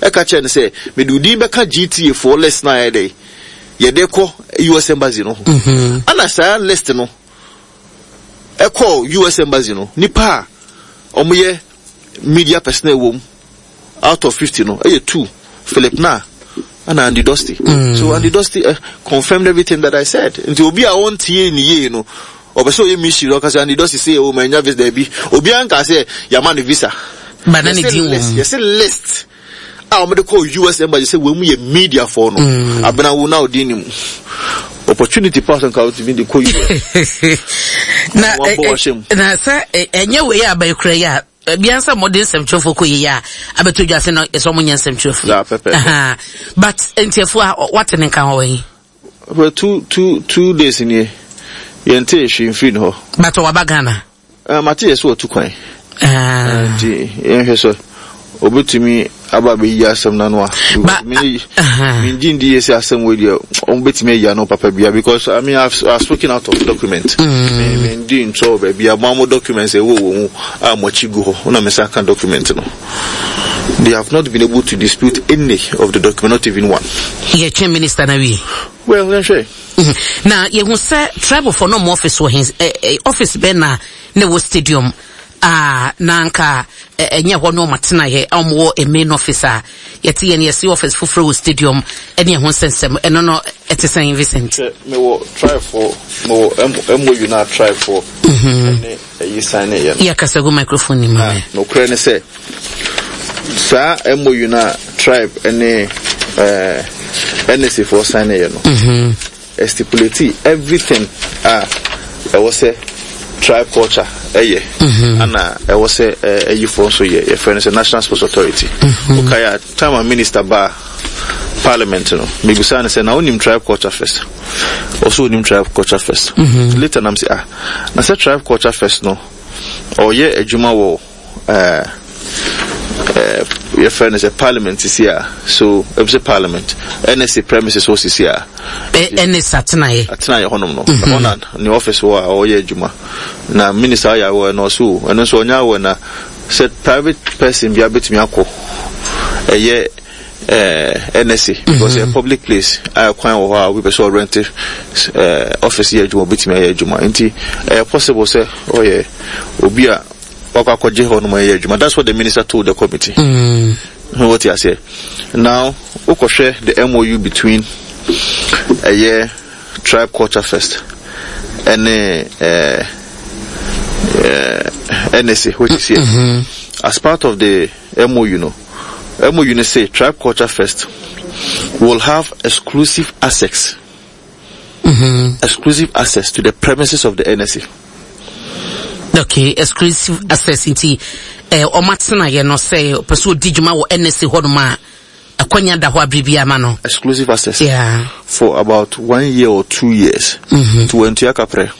Ɛka kyerɛ no sɛ mede wo din bɛka GTA foɔ list no a ɛyɛ dɛ yɛde kɔ US embassy no ho. Ɛna saa list no ɛkɔɔ US embassy no, nipa a wɔyɛ media personnel wɔ mu out of 50 no ɛyɛ two, Philip Nah ɛna Andy Dosty. So Andy Dosty confirmed everything that I said. Nti obi a ɔntie ne yie no, ɔpɛ sɛ ɔyɛ mission, ɔka sɛ Andy Dosty sɛ o manya visa, daabi. Obiara nka sɛ yɛama no visa. Ba na ne din wɔ mu. Yɛse list a wɔde kɔɔ US embassy sɛ wɔn mu yɛ media foɔ no. Abena wo na ɔdin ne mu. Opportunity pass nka wotumi de kɔ US. Na Wɔabɔ wahyɛ mu. Na sɛ ɛnyɛ wei a bɛkura yi a, bia sɛ mode nsɛmtwerɛfoɔ kɔ yie a abɛtɔ dwa se no ɛsɛ ɔmo nyɛ nsɛmtwerɛfoɔ. Yeah, pɛpɛ. But ntiafoɔ a wate ne nka hɔ yi. For 2 days nie, yɛnte hwee mfiri ne hɔ. But waba Ghana. Mate yɛ sɛ wɔtu kwan. Nti yɛnhwɛ sɛ obetumi aba abɛyi asɛm no ano a. Mengye ndi yie sɛ asɛm wei deɛ ɔmo bɛtumi ayi ano papa bia, because I mean, I've spoken out of document. Mendi ntorɔ wɔ baabi a mo amo documents ɛwɔ wɔ mu a mo akyi gu hɔ na me nsa ka document no. They have not been able to dispute any of the document, not even one. Yɛtwɛn minister na wie. Well, yɛnhwɛ. Na yɛhu sɛ tribe foɔ no ɔmo office wɔ he, office bɛn na na ɛwɔ stadium a na nka ɛnyɛ hɔ no ɔmo atenaeɛ a ɔmo wɔ main office a yɛte yɛn yɛsi office foforɔ wɔ stadium ɛne ɛho nsɛnsɛm ɛno no ɛte sɛn, Vincent? Sɛ mewɔ tribe foɔ, mewɔ MOU na tribe foɔ ɛne ɛyi sign ne yɛ no. Yɛ kasa gu microphone ni mu. Na nokorɛ ne sɛ saa MOU na tribe ɛne NSA foɔ sign ne yɛ no stipulate everything a ɛwɔ sɛ tribe culture ɛyɛ ana ɛwɔ sɛ ɛyifoɔ nso yɛ, yɛfrɛ no sɛ National Sports Authority. Wokae a, time a minister ba parliament no, mebisa no sɛ na wonim Tribe Culture Fest? Ɔsɛ onim Tribe Culture Fest. Later nam sɛ, ah, na sɛ Tribe Culture Fest no ɔyɛ adwuma wɔ yɛfrɛ no sɛ parliament sisi a, so ebi sɛ parliament NSA premises hɔ sisi a. NSA atenaeɛ. Atenaeɛ hɔnom no, ɛhɔ na ne office wɔ a ɔyɛ adwuma, na minister ayɛ awɔ ɛna ɔso ɛno nso ɔnyɛ awɔ na sɛ private person bi abɛtumi akɔ ɛyɛ NSA because ɛyɛ public place a kwan wɔ hɔ a obi pɛ sɛ ɔrent office yɛ adwuma, obɛtumi ayɛ adwuma, nti ɛyɛ possible sɛ ɔyɛ obi a wakɔ akɔgye hɔ nom ɛyɛ adwuma. That's what the minister told the committee. What you say now, wokɔhwɛ the MOU between ɛyɛ Tribe Culture Fest ɛne NSA, which is here as part of the MOU no, MOU no say Tribe Culture Fest will have exclusive access, exclusive access to the premises of the NSA. Okay, exclusive access nti ɔmo atenaeɛ no sɛ ɔpɛ sɛ ɔdi dwuma wɔ NSA hɔnom a, akwanya da hɔ a biribi ama no. Exclusive access for about one year or 2 years to wantua kaprɛ.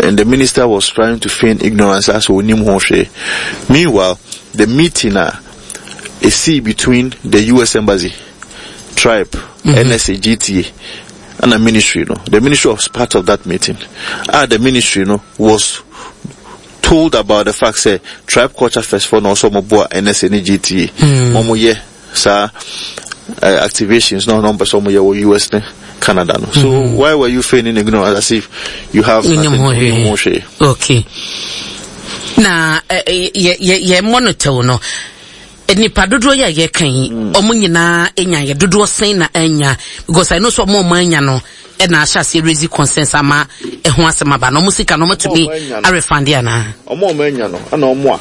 And the minister was trying to feign ignorance as onim ho hwee. Meanwhile, the meeting a ɛsii between the US embassy, tribe, NSA, GTA and the ministry no, the ministry was part of that meeting. Ah, the ministry no was told about the fact sɛ Tribe Culture Fest foɔ na ɔsɛ ɔmo boa NSA ne GTA ɔmo yɛ saa activations na ɔmo pɛ sɛ ɔmo yɛ wɔ US ne Canada no. So why were you feigning ignorance as if you have nothing? Wonim ho hwee. Wonim ho hwee. Okay, na yɛ yɛ yɛ monitor no, nipa dodoɔ yi a yɛka yi, ɔmo nyinaa anya yɛ dodoɔ sɛn na anya? Because I know sɛ ɔmo anya no ɛna ahyɛ aseɛ raise concerns ama ɛho asɛm aba na ɔmo sika no ɔmo tumi Ɔmo anya no. arefund anaa? Ɔmo a ɔmo anya no ɛna ɔmo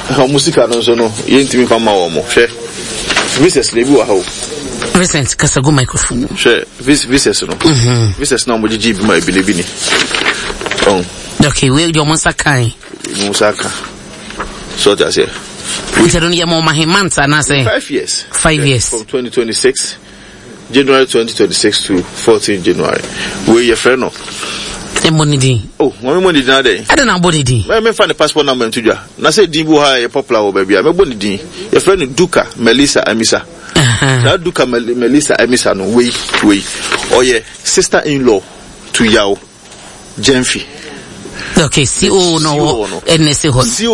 a ɔmo sika no nso no yɛntumi fa ma wɔn. Hwɛ, visas na ebi wɔ ha o. Vincent, kasa gu microphone no. Hwɛ, visas no, visas na ɔmo gyegye bi ma ebi na ebi ni ɔn. Okay, wei deɛ ɔmo nsa kan. Ɔmo nsa ka so, ɔte aseɛ. Nti no yɛ ma ɔmo ahe months anaasɛ? 5 years. 5 years. From 2026, January 2026 to 14 January. Wei yɛfrɛ no. Ɛmmɔ ne din. Oh, wɔn mo ne din adɛ. Ɛde na abɔ ne din. Mɛ mɛfa ne passport number nto dwa na sɛ din bi wɔ ha a ɛyɛ popular wɔ baabi a mɛbɔ ne din. Yɛfrɛ no Duka Melissa Amisa. Saa Duka Melissa Amisa no, wei ɔyɛ sister in law to Yaw Gyamfi. Okay, CO no CO wɔ no. NSA hɔ no. CO.